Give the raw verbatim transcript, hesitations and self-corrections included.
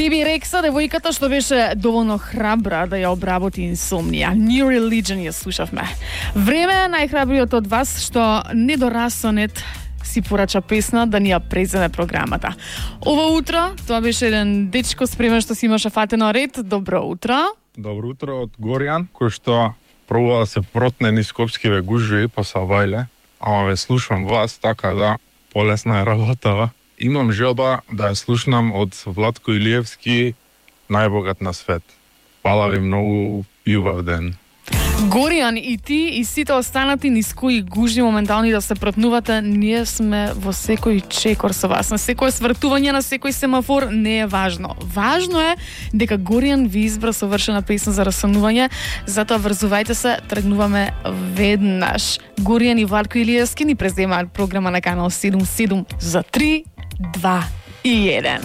Биби Рекса, девојката што беше доволно храбра да ја обработи инсомнија. New Religion ја слушавме. Време е најхрабриот од вас што недорассонет си порача песна да ни ја преземе програмата. Ова утро, тоа беше еден дечко спремен што си имаше фатено ред. Добро утро. Добро утро од Горијан, кој што пробува да се протне низ Скопскиве гужви по Савајле, ама ве слушам вас, така да полесна е работава. Имам желба да ја слушнам од Владко Илиевски Најбогат на свет. Фала ви многу и убав ден. Горијан, и ти и сите останати низ кои гужи моментални да се протнувате, ние сме во секој чекор со вас. На секој свртување, на секој семафор не е важно. Важно е дека Горијан ви избра совршена песна за расонување, затоа врзувајте се, тргнуваме веднаш. Горијан и Владко Илиевски ни преземаат програма на канал седум седум за три, два и еден.